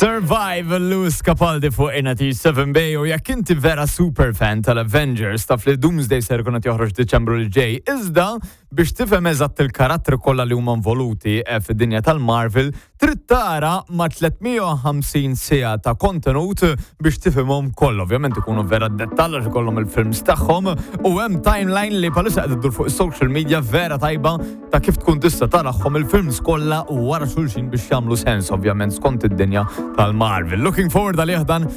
Survive Lewis Capaldi fuq 7 Bay u jekk inti vera super fan tal-Avengers, taf li Doomsday ser ikun qed joħroġ Diċembru li ġej. Iżda biex tifhem eżatt il-karattri kollha li huma involuti fid-dinja tal-Marvel, trid tara ma' 350 siegħa ta' kontenut biex tifhimhom kollha. Ovvjament ikunu vera dettall għax ikollhom il-films tagħhom u hemm timeline li bħalissa qed iddur fuq is-social media vera tajba ta' kif tkun tista' tarahom il-films kollha wara xulxin biex jagħmlu sens, ovvjament skont id-dinja tal-Marvel. Looking forward għalih dan.